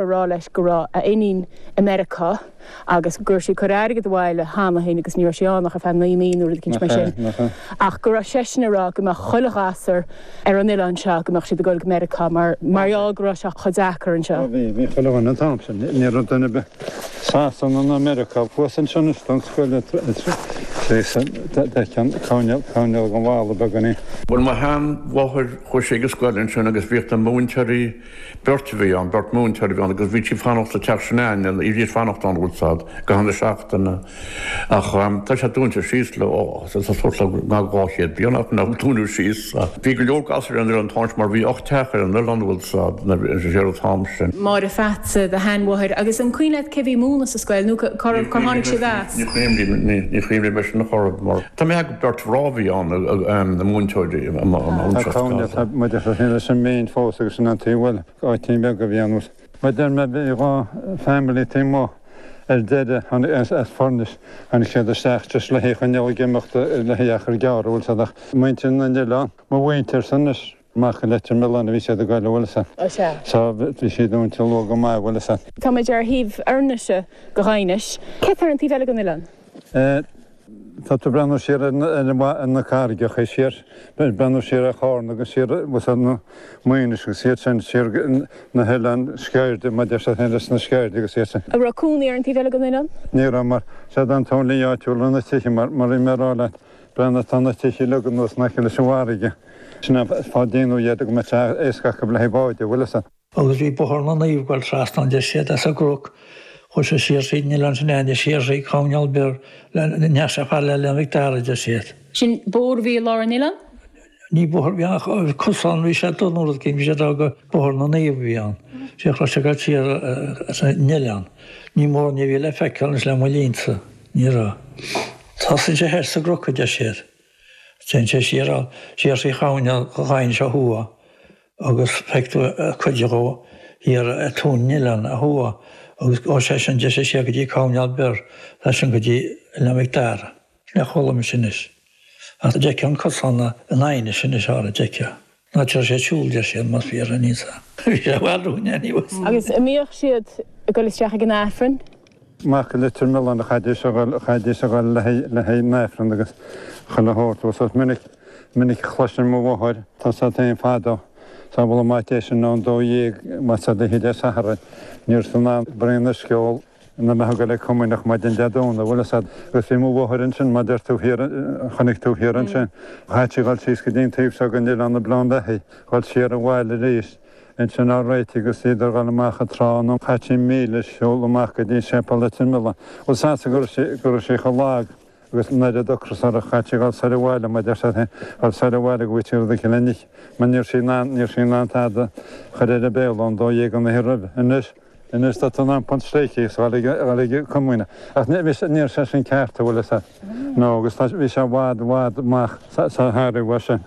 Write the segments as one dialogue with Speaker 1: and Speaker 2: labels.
Speaker 1: Ag rá leis go raibh a iníon i Meiriceá agus go raibh sí ag cur airgead abhaile cheana féin agus ní raibh sí ann ach ar feadh 9 mí nó rud eicínt mar sin. Ach go raibh seisean ag rá go mbeadh chuile ghasúr ar an oileán seo, go mbeadh siad ag dul go Meiriceá mar mar gheall go raibh sé chomh deacair anseo.
Speaker 2: Bhí, bhí chuile dhuine an t-am sin. Ní raibh duine ar bith Sasana ná Meiriceá. Thuas ansin is don scoil d'fheicfeá coirnéal, coirnéal den bhalla beagáinín.
Speaker 3: Bhuel mo sheanmháthair chuaigh sí ag an scoil ansin agus bhíodh na múinteoirí Beirt a bhí ann, beirt múinteoir a bhí ann agus bhí siad fanacht sa teach sin a'ainne, bhídís fanacht ann bhfuil 's a'd, i gcaitheamh na seachtaine. Ach tá sé dúnta síos le, ó, tá suas le 200 bliain ach nach dúnadh síos. Bhí go leor gasúir ar an oileán an t-am sin mar bhí 8 teach ar an oileán bhfuil 's a'd, ar an t-am sin.
Speaker 1: Máire Pheatsa, do sheanmháthair, agus an cuimhin leat cé bhí ag múineadh sa scoil nó cár tháinig siad as?
Speaker 3: Ní chuimhním, ní chuimhním leis an chor mar tá mé ag beirt mhná a bhí ann, na múinteoirí,
Speaker 2: Tá cónaí tá muid ag féin leis an méin fós agus sin an taobh bhuel áitín beag a bhí ann. Mar deir mé bhí 2 family taobh amuigh ar deireadh tháinig as as Furnace tháinig siad isteach just le haghaidh choinneáil ag imeacht le haghaidh achar gearr bhfuil 's a'd ach muintir na n-oileán mo mhuintir san anois amach go Leitir Mealláin a bhí siad ag goil bhfuil 's a'd.
Speaker 1: Sea.
Speaker 2: So bhí siad dúnta luath go maith bhfuil 's a'd.
Speaker 1: Tá muid ar thaobh Fhornaise de Dhaighinis. Cé tá ar an taobh eile den oileán?
Speaker 2: Tá tú ag breathnú siar ar na carraigeacha, siar, ag breathnú siar ar Chárna agus siar ar na Maínis agus iad sin, siar na hoileáin Sceirde, mar deir siad féin leis na Sceirde agus iad sin.
Speaker 1: An raibh cónaí ar an taobh eile den oileán?
Speaker 2: Ní raibh, mar siad an t-only áitiúil ar na tithe, mar mar bhí mé ag rá leat, breathnaigh tá na tithe uilig anuas in aice leis an bhfarraige. Sin an fáth a déanadh iad go mbeadh sé éasca acu le haghaidh báid, an bhfuil fhios a'd.
Speaker 4: Agus bhí Bóthar na Naomh ag goil trasna ann deir siad as an gCnoc chuaidh sé siar thríd an oileán sin ann siar thrí Coirnéal Bior le ndeachaidh sé fad le Oileán Mhic Dara deir siad.
Speaker 1: Sin bóthar a bhí i lár an oileáin?
Speaker 4: Ní bóthar a bhí ann ach cosán bhí sé dul nó rud éigin bhí siad ag rá gur Bóthar na Naomh a bhí ann. Sé raibh sé ag goil siar as an oileán. Ní mór ní bhí le feiceáil anois le mo linnsa. Ní raibh. Tosaíonn sé thoir sa gCnoc a deir siad. Téann sé siar siar thrí Choirnéal Dhaighinis ó thuaidh. agus feicfidh tú cuid dhó thiar ar tóin an oileáin ó thuaidh agus ó sé sin deir sé siar go dtí Coirnéal Bior tá sin go dtí Oileán Mhic Dara. Sin é a chuala mise anois. Ach d'fheicfeá an cosán i nDaighinis anois ára d'fheicfeá. Ná deir sé siúl deir siad más fíor é níl 's a'm. Bhí sé i bhfad uainn anyways.
Speaker 1: Agus an mbíodh siad ag dul isteach ag an Aifreann?
Speaker 2: Amach go Leitir Mealláin a chaithidís a dhul, chaithidís a dhul le haghaidh, le haghaidh an Aifreann agus chuile shórt. Bhuel, is minic, minic a chloisinn mo mháthair, tá 's a'd féin fadó, sá bhfuil an maith é sin ón 12, más ea d'oíche Dé Sathairn, ní raibh tú in ann braon uisce a ól ina mbeifeá ag dul ag comaoineach maidin Dé Domhnaigh, bhfuil 'fhios a'd. Agus bhí mo mháthair ansin, mar deir tú thiar, chonaic tú thiar ansin, chaith sí dhul síos go dtí an taobh seo den oileán i Bleán Bheathaigh, dhul siar abhaile arís. Ansin á réitigh agus iad ag dhul amach an trá nó chaith sí míle siúl amach go dtí Séipéal Leitir Mealláin. Bhuel sásta go raibh sí, go raibh sí chomh lag agus an oiread ocras uirthi, chaith sí dhul soir abhaile, mar deir siad féin, dhul soir abhaile go bhfaigheadh sí rud éicint le n-ithe, mar ní raibh sí in ann, ní raibh sí in ann tada a chur ar a béal ón 12 an oíche roimhe. Anois, anois tá tú in ann punt stréice agus dhul ag, dhul ag comaoineach. Ach ní, bhí sé, ní raibh sé sin ceart, an bhfuil fhios a'd. No, agus tá, bhí sé i bhfad, i bhfad amach sa, sa thairfeadh uaidh sin.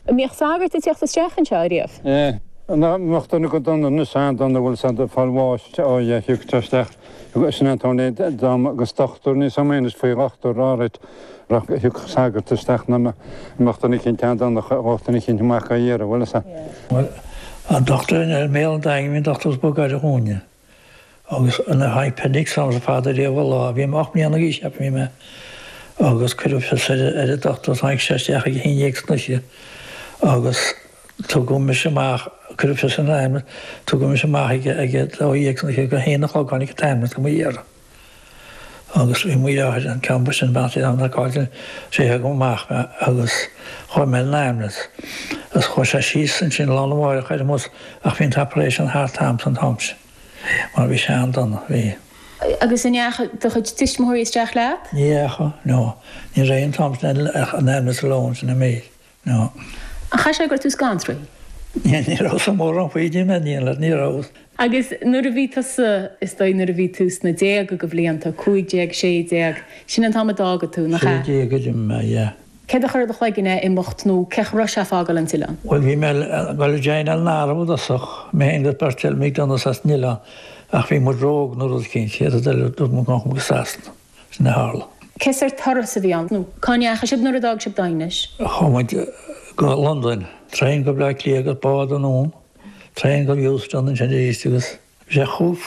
Speaker 1: An mbíodh sagart ag teacht isteach anseo ariamh?
Speaker 2: Eh, ná mbeadh duine go dona anois an-dona bhfuil 'fhios a'd ag fáil bháis ó yeah thiocfadh sé isteach sin an t-am dá agus dochtúir níos am anois faoi dhochtúir alright ach thiocfadh sagart isteach ná mbeadh duine eicínt an-dona ghabhadh duine eicínt amach á iarraidh bhfuil 'fhios a'd.
Speaker 4: Bhuel, an dochtúir i mBéal an Daingin bhí an dochtúir is mó gaire dhúinne. Agus nuair a tháinig appendix ormsa fada riamh an lá, bhí mé 8 mbliana d'aois cheapfainn bhí mé, agus cuireadh fios ar ar an dochtúir, tháinig sé isteach ag a haon dhéag san oíche agus tugadh mise amach, cuireadh fios ar an ambulance, tugadh mise amach ag ag a dó dhéag san oíche, ag a haon a chlog tháinig an t-ambulance go mo iarraidh. Agus bhí mo dheartháir an ceann ba sine bean an cáil sé thug amach mé agus chuaigh mé ar an ambulance agus chuaigh sé síos ansin lá arna mháireach ar an mbus ach bhí an t-operation thart a'm san t-am sin mar bhí sé an-dona, bhí.
Speaker 1: Agus an ndeachaigh do chuid tuismitheoirí isteach leat?
Speaker 4: Ní dheachaigh, no. Ní raibh an t-am sin ach an ambulance alone sin an méid. No.
Speaker 1: An chaithfidh sé go raibh tú scanraithe?
Speaker 4: Ní rabhas mórán faoi dí mé, ní rabhas.
Speaker 1: Agus nuair a bhí tusa, is dóigh nuair a bhí tú sna déaga de bhlianta, 15, 16, sin an t-am a d'fhága tú, nach ea?
Speaker 4: 16 a d'imigh mé, yeah.
Speaker 1: Céard a chuir i do chloigeann é imeacht nó cén chaoi a raibh sé fágáil an t-oileán?
Speaker 4: Bhuel bhí mé ag dul a joineáil an arm i dtosach, mé féin agus beirt eile, McDonaghs as an oileán, ach bhí muid ró-óg nó rud eicínt, chéad rud eile dúirt muid go ngabhfadh muid go Sasana. Sin a tharla.
Speaker 1: Cé sórt turas a bhí ann? Nó cá ndeachaigh sibh nuair a d'fhág sibh Daighinis?
Speaker 4: Chuaigh muid go Londain, traein go Bleá Cliath agus bád anonn, traein go Euston ansin arís agus. Bhí sé chomh.